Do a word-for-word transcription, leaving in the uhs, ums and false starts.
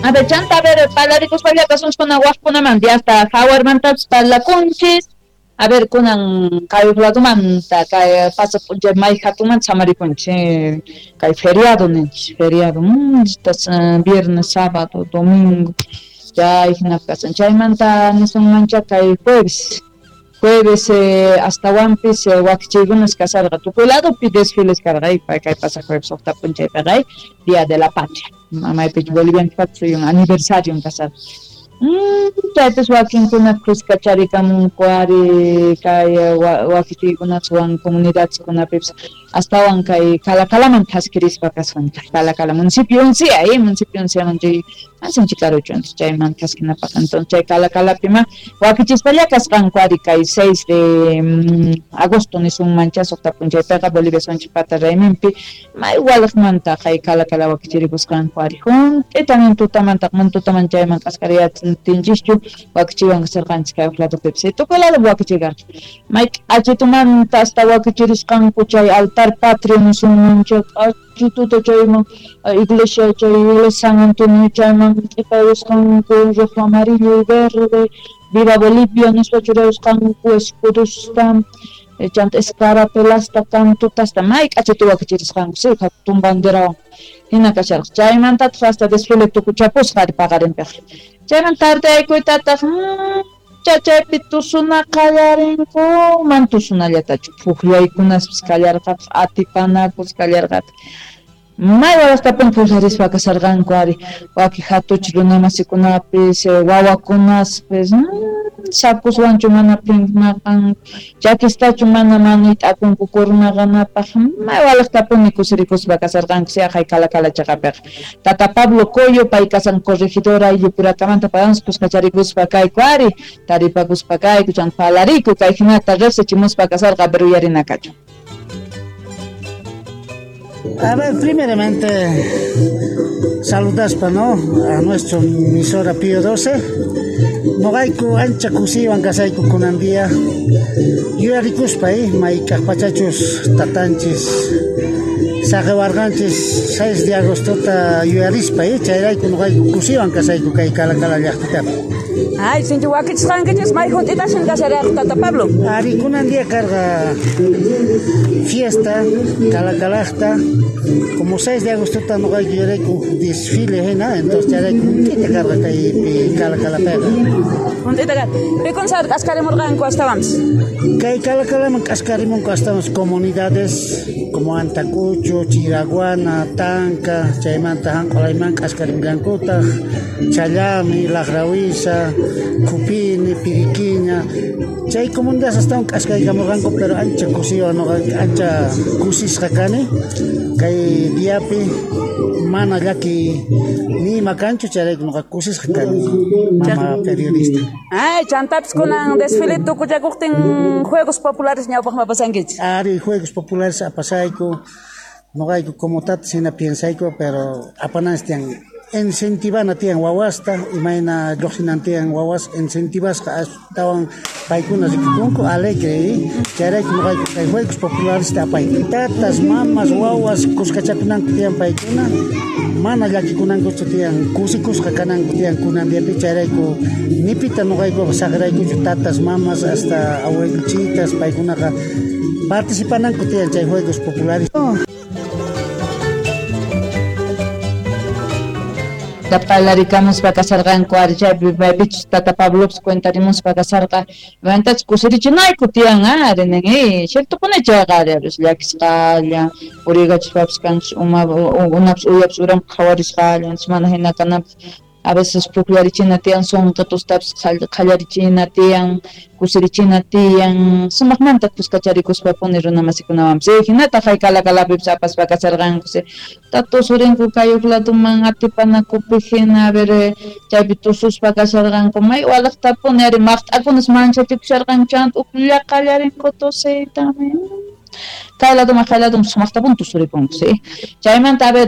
A ver, chanta, a ver, parlarikuspallapas unchkuna waqkunaman hasta jawarmantapas parlakunchis. A ver, kunan kay ladomanta kay pasaq p'unchay may hatunmanta samarikunchis, kay feriado ninchis, feriado, mmm, viernes, sábado, domingo, chay hinapi kasan. Chaymanta nisunmancha kay jueves, jueves eh, astawanpis eh, wakichiykunas kasarqa tukuy ladopi desfiles karqa kay pasaq jueves suqta p'unchaypiqa Día de la Patria, maypichu Bolivianchikpata suyun aniversario kasarqa. Mm, chaypis wakinkuna kuskacharikamunku ari kay wakichiykunaswan comunidadkunapipis astawan kay Calacalaman thaskirispa kasqanchik Calacala municipio Uncia, eh, municipio Unciaman chay masinchik karuchu chayman thaskinapaq entonces chay Calacalapima wakichispalla kasqanku ari kay seis de mm, agosto nisunmancha suqta p'unchaypiqa Bolivia suyunchikpata rayminpi may walaqmanta kay Calacala wakichirikusqanku ari junt'ita nin tutamanta man tutaman chayman k'askariyachin tinchischu wakichiwan kasarqanchik kay ladopipis tukuy lado wakichikarqa may k'achitumanta hasta wakichirisqanku chay altar patrio nisunmancha k'achituta chayman iglesia chay iglesia San Antonio chayman q'ipayusqanku rojo, amarillo y verde viva Bolivia nispa churayusqanku escudosta chanta escarapelasta cantutasta may k'achitu wakichirisqanku si hatun banderawan hina kasharqa chaymantataq hasta desfile tukuchapusqa ari paqarinpiqa chayman tardeaykuytataq chaypi tusuna qallarinku man tusunallatachu puqllaykunaspis kallarqataq atipanakus kallarqataq may walaqtapuni puqllarispa kasarqanku ari waki hatuchi runamasikunapis wawakunaspis sakuswanchu mana phinmaqanku chakistachu mana manuyt'akunku kurmaqanapaq may walaqtapuni kusirikuspa kasarqanku siaqay Calacala chaqapiqa Tata Pablo Coyo pay kasan corregidor ayllu purakamanta paywansi kuskacharikuspa kayku ari taripakuspa kayku chanta parlariku kay hinata riqsichimuspa kasarqa pero uyarinakachu. A ver, primeramente, saludaspa, ¿no? A nuestro emisora Pío doce. Noqayku ancha kusiywan kasayku kunan día. Yuyarikuspa, eh, mayk'aq pachachus tatanchis saqiwarqanchis seis de agostota yuyarispa, eh, chayrayku noqayku kusiywan kasayku kay Calacala llaqtitapi. Ay, sinchi wakichisqankichis may junt'itashin kasharaq Tata Pablo. Ari kunan día karqa fiesta Calacalaqta como seis de agostota noqayku yuyarayku desfile hina, entonces chayrayku junt'ita karqa kaypi Calacalapiqa. Junt'ita karqa. Pikun sar k'askarimurqanku astawanpis? Kay Calacalaman k'askarimunku astawanpis comunidades como Antacucho, Chiraguana, Tanca, chaymanta hanq'ulayman k'askarimllankutaq, Challami, Laqrawisa, Cupini, Piriquiña, chay comunidades astawan k'askaykamurqanku pero ancha kusiywan noqa ancha kusisqa kani kay diapi mana llaki ni ima kanchu chayrayku noqa kusisqa kani mama periodista. Ay, chantapis kunan desfile tukuchakuqtin juegos populares ñawpaqman pasankichis. Ari juegos populares apasayku noqayku como tatas hina piensayku pero apananchis tiyan incentivana tiyan wawasta imayna lluqsinan tiyan wawas incentivasqa astawan paykuna rikukunku alegre chayrayku noqayku kay juegos populares apayku tatas mamas wawas kuskachakunanku tiyan paykuna mana llakikunankuchu tiyan kusikusqa kananku tiyan kunan diapi chayrayku nipita noqayku saqraykuchu tatas mamas hasta abuelichitas paykunaqa participananku tiyan chay juegos populares. Parlarikamuspa kasarqanku ari chaypi maypichus Tata Pablopis cuentarimuspa kasarqa mantachus kusirichinayku tiyan ari nin eh ciertopuni chayqa ari llakisqalla puriykachispapis kanchis uma unapis uyapis uranpi qhawarisqalla mana hina kanapaq a veces pukllarichina tiyan sunqitustapis qhallarichina tiyan kusirichina tiyan sumaqmanta kuskacharikuspapuni runamasikunawanpis hinataq hay Calacalapipis apaspa kasarqanku tusurinku kay huk ladoman atipanakupi hina a ver chaypi tususpa kasharqanku may walaqtapuni ari maqt'akunas manchachikusharqanku chanta uklla qallarinku tusiyta kay ladoman kay ladoman sumaqtapuni tusuripunku si chaymanta a ver